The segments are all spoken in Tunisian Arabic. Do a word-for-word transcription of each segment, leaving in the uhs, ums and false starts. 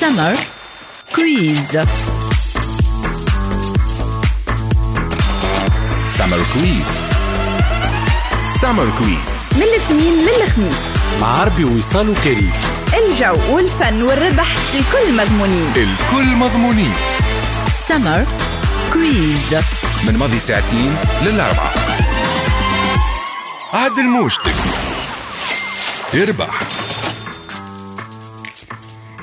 Summer Quiz. Summer Quiz. Summer Quiz من الاثنين للخميس مع عربي ووصال وكريم. الجو والفن والربح الكل مضمونين، الكل مضمونين. Summer Quiz من ماضي ساعتين للأربعة. عدل موجتك يربح.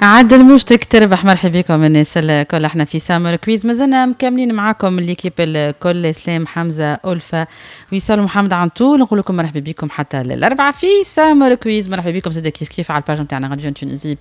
عدل موجتك تربح. مرحبا بكم الناس الكل، احنا في Summer Quiz مازلنا مكملين معاكم l'équipe الكل، اسلام، حمزه، الفا، وصال، محمد عنطول. نقول لكم مرحبا بكم حتى للاربعه في Summer Quiz. مرحبا بكم زاد كيف كيف على ال page نتاعنا Radio Tunisie،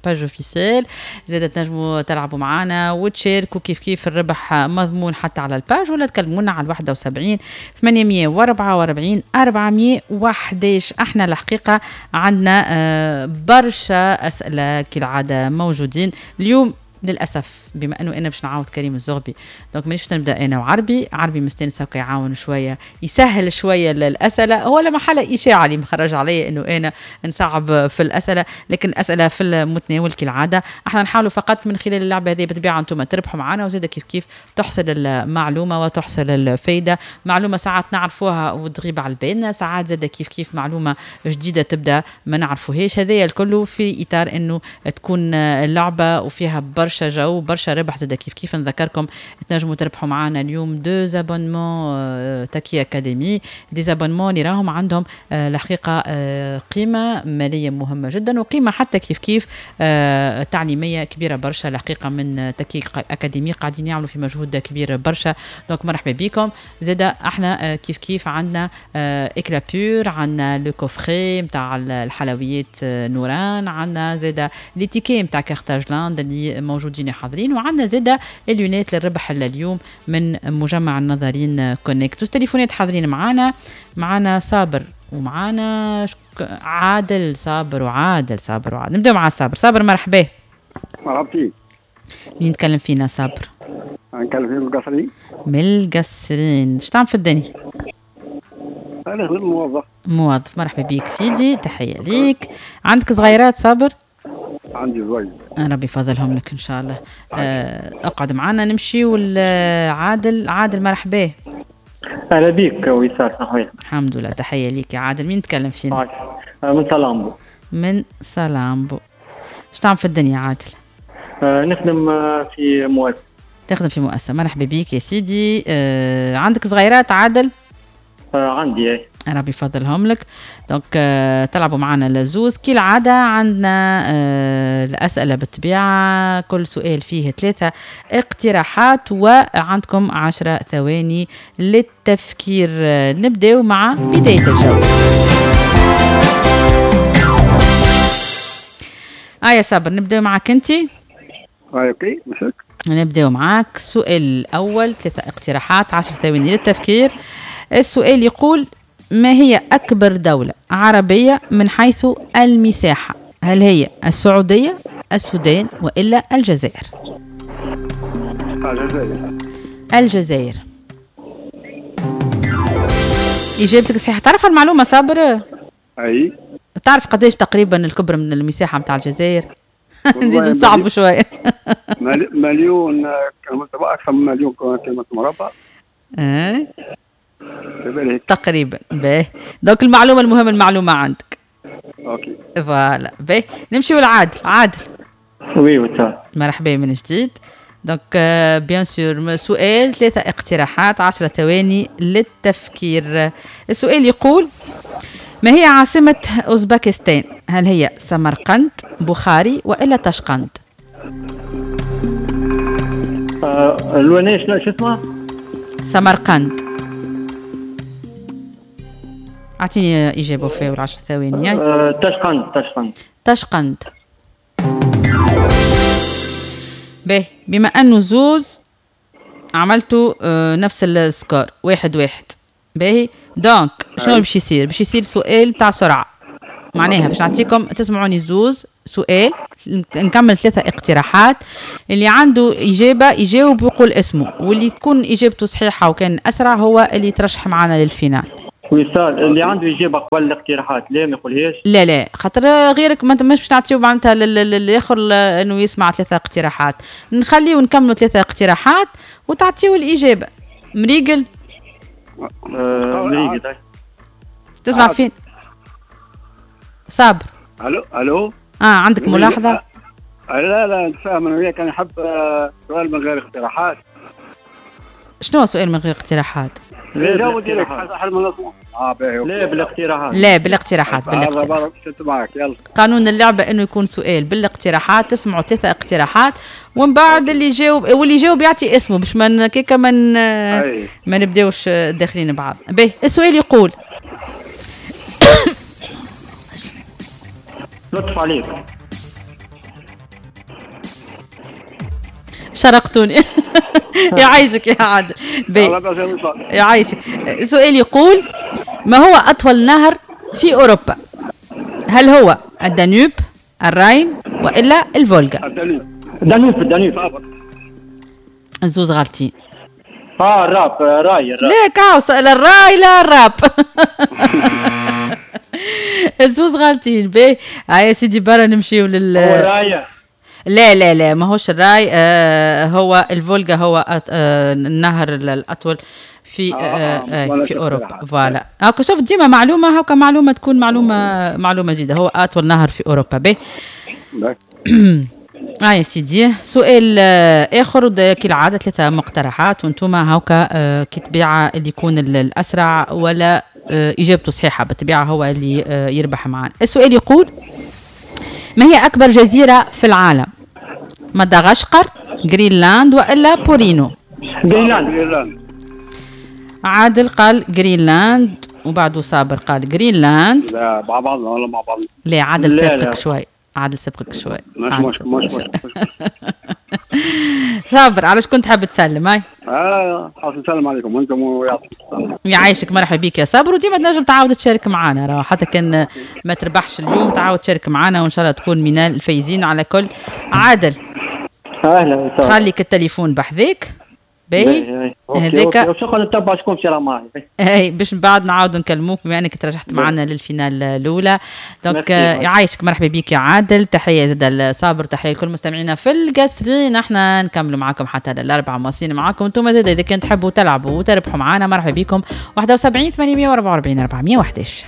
page officielle، زاد تنجموا تلعبوا معنا وتشاركوا كيف كيف، الربح مضمون حتى على ال page، ولا تكلمونا على واحد وسبعين ثمانمية وأربعة وأربعين أربعمية وأحد عشر. احنا الحقيقة عندنا برشا اسئلة كالعادة موجودين اليوم. للاسف بما انه انا باش نعاود كريم الزغبي، donc مانيش نبدا انا وعربي. عربي مستانس هكا يعاون شوية، يسهل شوية الاسئلة. هو لا محالة اشاعة اللي مخرج علي انه انا نصعب في الاسئلة، لكن الاسئلة في المتناول كالعادة. احنا نحاولوا فقط من خلال اللعبة هذه بالطبيعة انتم تربحوا معنا، وزاد كيف كيف تحصل المعلومة وتحصل الفايدة. معلومة ساعات نعرفوها وتغيب على بالنا، ساعات زاد كيف كيف معلومة جديدة تبدا ما نعرفوهاش. هذايا الكل في اطار انه تكون اللعبة وفيها برشا جو برشا ربح. زاد كيف كيف نذكركم تنجموا تربحوا معنا اليوم deux abonnements Taki Academy، des abonnements اللي راهم عندهم الحقيقة قيمة ماليه مهمة جدا، وقيمه حتى كيف كيف تعليمية كبيرة برشا الحقيقة من Taki Academy، قاعدين يعملوا في مجهود كبير برشا. donc مرحبا بكم. زاد احنا كيف كيف عندنا Eclat Pur، عندنا le coffret نتاع الحلويات نوران، عندنا زاد les tickets نتاع Carthage Land اللي موجودين حاضرين، وعندنا زاده ال lunettes للربح اليوم من مجمع النظرين Connect. التليفونات حاضرين معانا، معانا صابر ومعانا عادل. صابر وعادل، صابر وعادل. نبداو مع صابر. صابر مرحبا. مرحبتي. مين نتكلم فينا صابر؟ نتكلم فينا من القصرين. من القصرين. اش تعمل في الدنيا؟ انا موظف. موظف. مرحبا بيك سيدي، تحية ليك. عندك صغيرات صابر؟ عندي زوج. ربي يفضلهم لك ان شاء الله. اقعد معنا. نمشي والعادل. عادل مرحبا. اهلا بك وصال. الحمد لله، تحية ليك يا عادل. مين تكلم فينا؟ من سلامبو. من سلامبو. اش تعمل في الدنيا عادل؟ أه نخدم في مؤسسة. تخدم في مؤسسة. مرحبا بك يا سيدي. أه عندك صغيرات عادل؟ أه عندي ايه. ربي يفضلهم لك. donc تلعبوا معنا لزوز كالعادة. عندنا الأسئلة بالطبيعة، كل سؤال فيه ثلاثة اقتراحات، وعندكم عشرة ثواني للتفكير. نبدأ مع بداية الجولة. آه يا صابر، نبدأ معك أنت. OK مشك. نبدأ معك. السؤال الأول، ثلاثة اقتراحات، عشر ثواني للتفكير. السؤال يقول: ما هي أكبر دولة عربية من حيث المساحة؟ هل هي السعودية، السودان، وإلا الجزائر؟ الجزائر. الجزائر. إجابتك صحيحة. تعرف المعلومة صابر؟ أي. تعرف قداش تقريبا الكبر من المساحة متاع الجزائر؟ نزيد نصعب شوية. مليون، أكثر من مليون كيلومتر مربع. أه. تقريبا. باهي، donc المعلومة المهمة المعلومة عندك. OK voilà. باهي، نمشيو لعادل. عادل. oui وتا. مرحبا من جديد. donc bien sûr سؤال، ثلاثة اقتراحات، عشرة ثواني للتفكير. السؤال يقول: ما هي عاصمة اوزبكستان؟ هل هي سمرقند، بخاري، والا طشقند؟ أه الوناش شنو اسمها؟ سمرقند. اعطيني اجابه فيها والعشر ثواني. أه، تشقند. تشقند. تشقند. باهي، بما انه زوز عملتوا أه نفس ال score واحد واحد. باهي، donc شنو باش يصير؟ باش يصير سؤال تاع سرعة، معناها باش نعطيكم تسمعوني زوز سؤال، نكمل ثلاثة اقتراحات، اللي عنده إجابة يجاوب ويقول اسمه، واللي تكون إجابته صحيحة وكان أسرع هو اللي يترشح معنا لل finale. وصال اللي عنده إجابة قبل الاقتراحات لا ما يقولهاش. لا لا خاطر غيرك ما مش باش نعطيو معناتها للاخر انه يسمع ثلاثة اقتراحات، نخليو نكملوا ثلاثة اقتراحات وتعطيو الإجابة. مريقل؟ آه مريقل. تسمع فين؟ صابر. الو الو. اه عندك ملاحظة؟ لا لا نتفاهم انا وياك، انا نحب سؤال من غير اقتراحات. شنو سؤال من غير اقتراحات؟ لا لا بالاقتراحات. لا بالاقتراحات بالاقتراحات. قانون اللعبة انه يكون سؤال بالاقتراحات، تسمعوا ثلاثة اقتراحات ومن بعد اللي يجاوب واللي يجاوب يعطي اسمه باش ما كيكا ما ما نبداوش داخلين بعض. باهي السؤال يقول لطف عليك شرقتوني. يعيشك يا عادل. يعيشك. سؤال يقول ما هو أطول نهر في أوروبا؟ هل هو الدانوب، الراين، وإلا الفولغا؟ الدانوب. الدانوب. الزوز غالطين. اه الراب راي الراب. لا كاوس لا الراي لا الراب. الزوز غالطين. باهي هيا سيدي برا نمشيو لل راي. لا لا لا ماهوش الراي، آه هو الفولغا هو أط... آه النهر الأطول في آه آه في أوروبا. voilà هاكا شوف ديما معلومة، هاكا معلومة تكون معلومة معلومة جديدة. هو أطول نهر في أوروبا. باهي اه يا سيدي سؤال آخر كالعادة ثلاثة مقترحات وانتم هاكا آه كي تبيعة اللي يكون الأسرع ولا آه إجابته صحيحة بالطبيعة هو اللي آه يربح معنا. السؤال يقول ما هي أكبر جزيرة في العالم؟ مدغشقر، جرينلاند، وإلا بورينو؟ جرينلاند. عادل قال جرينلاند وبعده صابر قال جرينلاند. لا مع بعضنا ولا مع بعض؟ لا عادل سبقك شوي، عادل سبقك شوي. مش مش مش صابر على شكون تحب تسلم؟ هاي اه حاب نسلم عليكم وانتم ويعطيكم الصحة. يعيشك مرحبا بك يا صابر، وديما تنجم تعاود تشارك معنا راه حتى كان ما تربحش اليوم تعاود تشارك معنا وان شاء الله تكون من الفايزين على كل. عادل اهلا وسهلا، خليك التليفون بحذاك باهي هذاك شكون نتبع شكون باش يلعب معايا اي باش من بعد نعاودوا نكلموك بما انك ترشحت معنا لل finale الاولى. donc يعيشك مرحبا بك يا عادل، تحية زاد لصابر، تحية لكل مستمعينا في القصرين. احنا نكملوا معاكم حتى للاربعه مواصلين معاكم انتم زاد اذا كان تحبوا تلعبوا وتربحوا معنا مرحبا بكم. واحد وسبعين ثمانمية وأربعة وأربعين أربعمية وأحد عشر.